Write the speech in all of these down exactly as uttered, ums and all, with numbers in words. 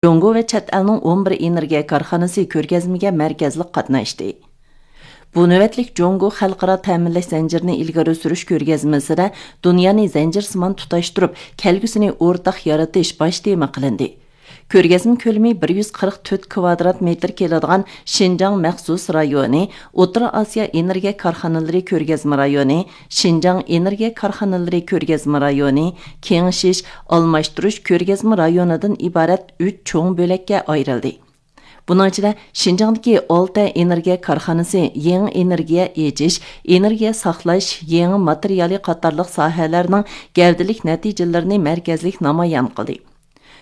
جۇڭگو ۋە چەت ئەلنىڭ ئون بىر ئېنېرگىيە كارخانىسى كۆرگەزمىگە مەركەزلىك قاتناشتى. بۇ نۆۋەتلىك جۇڭگو خەلقئارا تەمىنلەش زەنجىرىنى ئىلگىرى سۈرۈش كۆرگەزمىسىدە دۇنيانى زەنجىرسىمان تۇتاشتۇرۇپ، كەلگۈسىنى ئورتاق يارىتىش باش تېما قىلىندى. كۆرگەزمە كۆلىمى بىر يۈز قىرىق تۆت كۋادرات مېتىر كېلىدىغان شىنجاڭ مەخسۇس رايونى، ئوتتۇرا ئاسىيا ئېنېرگىيە كارخانىلىرى كۆرگەزمە رايونى، شىنجاڭ ئېنېرگىيە كارخانىلىرى كۆرگەزمە رايونى، كېڭىشىش، ئالماشتۇرۇش كۆرگەزمە رايونىدىن ئىبارەت ئۈچ چوڭ بۆلەككە ئايرىلدى. بۇنىڭ ئىچىدە شىنجاڭدىكى ئالتە ئېنېرگىيە كارخانىسى يېڭى ئېنېرگىيە ئېچىش، ئېنېرگىيە ساقلاش، يېڭى ماتېرىيالى قاتارلىق ساھەلەرنىڭ گەۋدىلىك نەتىجىلىرىنى مەركەزلىك نامايان قىلدى.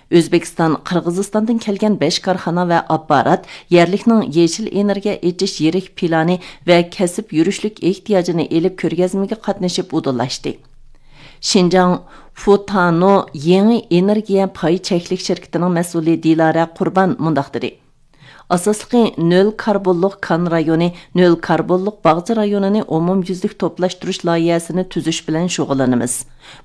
ئۆزبېكىستان، قىرغىزىستاندىن كەلگەن بەش كارخانا ۋە ئاپپارات يەرلىكنىڭ يېشىل ئېنېرگىيە ئېچىش يىرىك پىلانى ۋە كەسىپ يۈرۈشلۈك ئېھتىياجىنى ئېلىپ، كۆرگەزمىگە قاتنىشىپ ئۇدۇللاشتى. شىنجاڭ فۇتانو يېڭى ئېنېرگىيە پاي چەكلىك شىركىتىنىڭ مەسئۇلى دىلارە قۇربان مۇنداق دېدى: ئاساسلىقى نۆل كاربونلۇق كان رايونى، نۆل كاربونلۇق باغچە رايونىنى ئومۇميۈزلۈك توپلاشتۇرۇش لايىھەسىنى تۈزۈش بىلەن شۇغۇللىنىمىز.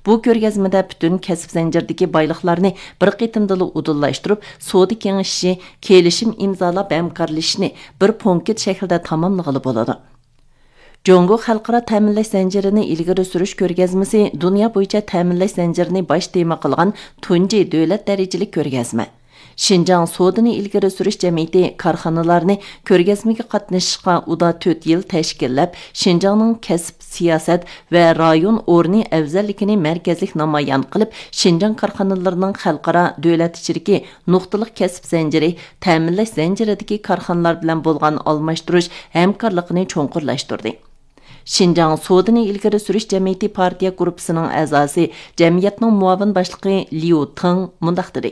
بۇ كۆرگەزمىدە پۈتۈن كەسىپ زەنجىرىدىكى بايلىقلارنى بىر قېتىمدىلا ئۇدۇللاشتۇرۇپ، سودا كېڭىشىشى، كېلىشىم ئىمزالاپ ھەمكارلىشىشنى بىر پونكىت شەكلىدە تاماملىغىلى بولىدۇ. جۇڭگو خەلقئارا تەمىنلەش زەنجىرىنى ئىلگىرى سۈرۈش كۆرگەزمىسى دۇنيا بويىچە تەمىنلەش زەنجىرىنى باش تېما قىلغان تۇنجى دۆلەت دەرىجىلىك كۆرگەزمە. شىنجاڭ سودىنى ئىلگىرى سۈرۈش جەمئىيىتى كارخانىلارنى كۆرگەزمىگە قاتنىشىشقا ئۇدا تۆت يىل تەشكىللەپ، شىنجاڭنىڭ كەسىپ، سىياسەت ۋە رايون ئورنى ئەۋزەللىكىنى مەركەزلىك نامايان قىلىپ، شىنجاڭ كارخانىلىرىنىڭ خەلقئارا، دۆلەت ئىچىدىكى نۇقتىلىق كەسىپ زەنجىرى، تەمىنلەش زەنجىرىدىكى كارخانىلار بىلەن بولغان ئالماشتۇرۇش ھەمكارلىقىنى چوڭقۇرلاشتۇردى. شىنجاڭ سودىنى ئىلگىرى سۈرۈش جەمئىيىتى پارتىيە گۇرۇپپىسىنىڭ ئەزاسى، جەمئىيەتنىڭ مۇئاۋىن باشلىقى ليۇ تېڭ مۇنداق دېدى: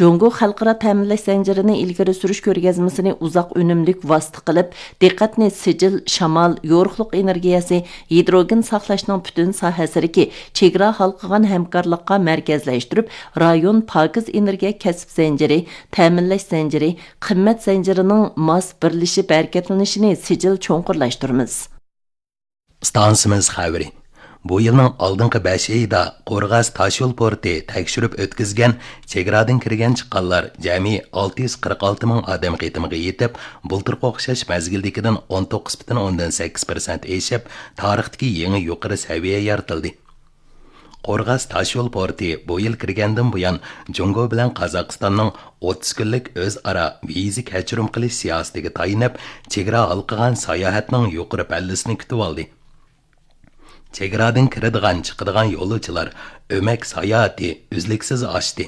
جۇڭگو خەلقئارا تەمىنلەش زەنجىرىنى ئىلگىرى سۈرۈش كۆرگەزمىسىنى ئۇزاق ئۈنۈملۈك ۋاسىتە قىلىپ، دىققەتنى سىجىل، شامال، يورۇقلۇق ئېنېرگىيەسى، ھىدروگېن ساقلاشنىڭ پۈتۈن ساھەسىدىكى چېگرا ھالقىغان ھەمكارلىققا مەركەزلەشتۈرۈپ، رايون پاكىز ئېنېرگىيە كەسىپ زەنجىرى، تەمىنلەش زەنجىرى، قىممەت زەنجىرىنىڭ ماس بىرلىشىپ ھەرىكەتلىنىشىنى سىجىل چوڭقۇرلاشتۇرىمىز. ئىستانسىمىز خەۋىرى. بۇ يىلنىڭ ئالدىنقى بەش ئېيىدا قورغاس تاشيول پورتى تەكشۈرۈپ ئۆتكۈزگەن چېگرادىن كىرگەن چىققانلار جەمئىي ئالتە يۈز قىرىق ئالتە مىڭ ئادەم قېتىمىغا يېتىپ، بۇلتۇرقى ئوخشاش مەزگىلدىكىدىن ئون توققۇز پۈتۈن ئوندىن سەككىز پىرسەنت ئېشىپ، تارىختىكى يېڭى يۇقىرى سەۋىيە يارىتىلدى. قورغاس تاشيول پورتى بۇ يىل كىرگەندىن بۇيان، جۇڭگو بىلەن قازاقىستاننىڭ ئوتتۇز كۈنلۈك ئۆزئارا ۋىزا كەچۈرۈم قىلىش سىياسىتىگە تايىنىپ، چېگرا ھالقىغان ساياھەتنىڭ يۇقىرى پەللىسىنى كۈتۈۋالدى. چېگرادىن كىرىدىغان، چىقىدىغان يولۇچىلار ئۆمەك ساياھىتى ئۈزلۈكسىز ئاشتى.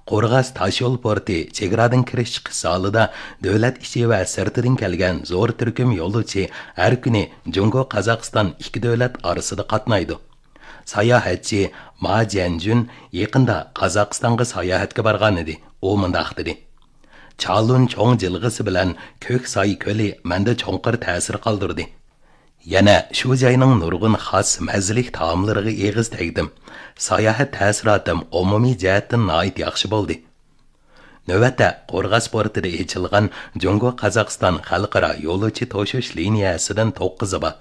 قورغاس تاشيول پورتى چېگرادىن كىرىش چىقىش زالىدا دۆلەت ئىچى ۋە سىرتىدىن كەلگەن زور تۈركۈم يولۇچى ھەر كۈنى جۇڭگو، قازاقىستان ئىككى دۆلەت ئارىسىدا قاتنايدۇ. ساياھەتچى ما جيەنجۈن يېقىندا قازاقىستانغا ساياھەتكە بارغانىدى. ئۇ مۇنداق دېدى: چالۇن چوڭ جىلغىسى بىلەن كۆك ساي كۆلى مەندە چوڭقۇر تەسىر قالدۇردى. يەنە شۇ جاينىڭ نۇرغۇن خاس مەززىلىك تائاملىرىغا ئېغىز تەگدىم. ساياھەت تەسىراتىم ئومۇمىي جەھەتتىن ناھايىتى ياخشى بولدى. نۆۋەتتە قورغاس پورتىدا ئېچىلغان جۇڭگو، قازاقىستان خەلقئارا يولۇچى توشۇش لىنىيەسىدىن توققۇزى بار.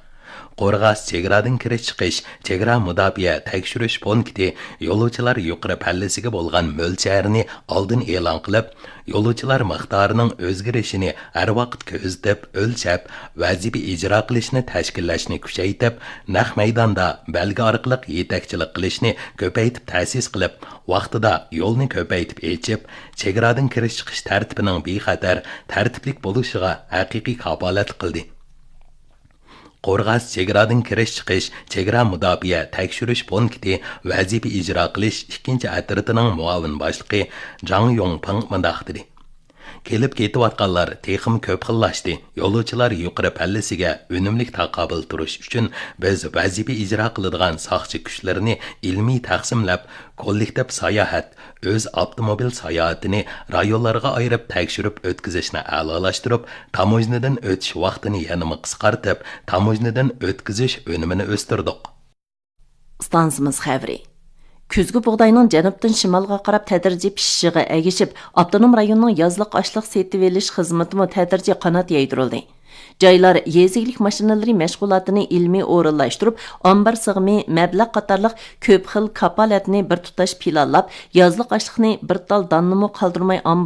قورغاس چېگرادىن كىرىش چىقىش، چېگرا مۇداپىئە تەكشۈرۈش پونكىتى يولۇچىلار يۇقىرى پەللىسىگە بولغان مۆلچەرنى ئالدىن ئېلان قىلىپ، يولۇچىلار مىقدارىنىڭ ئۆزگىرىشىنى ھەر ۋاقىت كۆزىتىپ، ئۆلچەپ، ۋەزىپە ئىجرا قىلىشنى تەشكىللەشنى كۈچەيتىپ، نەق مەيداندا بەلگە ئارقىلىق يېتەكچىلىك قىلىشنى كۆپەيتىپ تەسىس قىلىپ، ۋاقتىدا يولنى كۆپەيتىپ ئېچىپ، چېگرادىن كىرىش چىقىش تەرتىپىنىڭ بىخەتەر، تەرتىپلىك بولۇشىغا ھەقىقىي كاپالەتلىك قىلدى. قورغاس چېگرادىن كىرىش چىقىش چېگرا مۇداپىئە تەكشۈرۈش پونكىتى ۋەزىپە ئىجرا قىلىش ئىككىنچى ئەترىتىنىڭ مۇئاۋىن باشلىقى جاڭ يۇڭپىڭ مۇنداق دېدى: كېلىپ كېتىۋاتقانلار تېخىمۇ كۆپ خىللاشتى. يولۇچىلار يۇقىرى پەللىسىگە ئۈنۈملۈك تاقابىل تۇرۇش ئۈچۈن، بىز ۋەزىپە ئىجرا قىلىدىغان ساقچى كۈچلىرىنى ئىلمىي تەقسىملەپ، كوللېكتىپ ساياھەت، ئۆز ئاپتوموبىل ساياھىتىنى رايونلارغا ئايرىپ تەكشۈرۈپ ئۆتكۈزۈشنى ئەلالاشتۇرۇپ، تاموژنىدىن ئۆتۈش ۋاقتىنى يەنىمۇ قىسقارتىپ، تاموژنىدىن ئۆتكۈزۈش ئۈنۈمىنى ئۆستۈردۇق. ئىستانسىمىز خەۋىرى. كۈزگى بۇغداينىڭ جەنۇبتىن شىمالغا قاراپ تەدرىجىي پىشىشىغا ئەگىشىپ، ئاپتونوم رايوننىڭ يازلىق ئاشلىق سېتىۋېلىش خىزمىتىمۇ تەدرىجىي قانات يايدۇرۇلدى. جايلار يېزا ئىگىلىك ماشىنىلىرى مەشغۇلاتىنى ئىلمىي ئورۇنلاشتۇرۇپ، ئامبار سىغىمى، مەبلەغ قاتارلىق كۆپ خىل كاپالەتنى بىر تۇتاش پىلانلاپ، يازلىق ئاشلىقنى بىر تال داننىمۇ قالدۇرماي ئامبارغا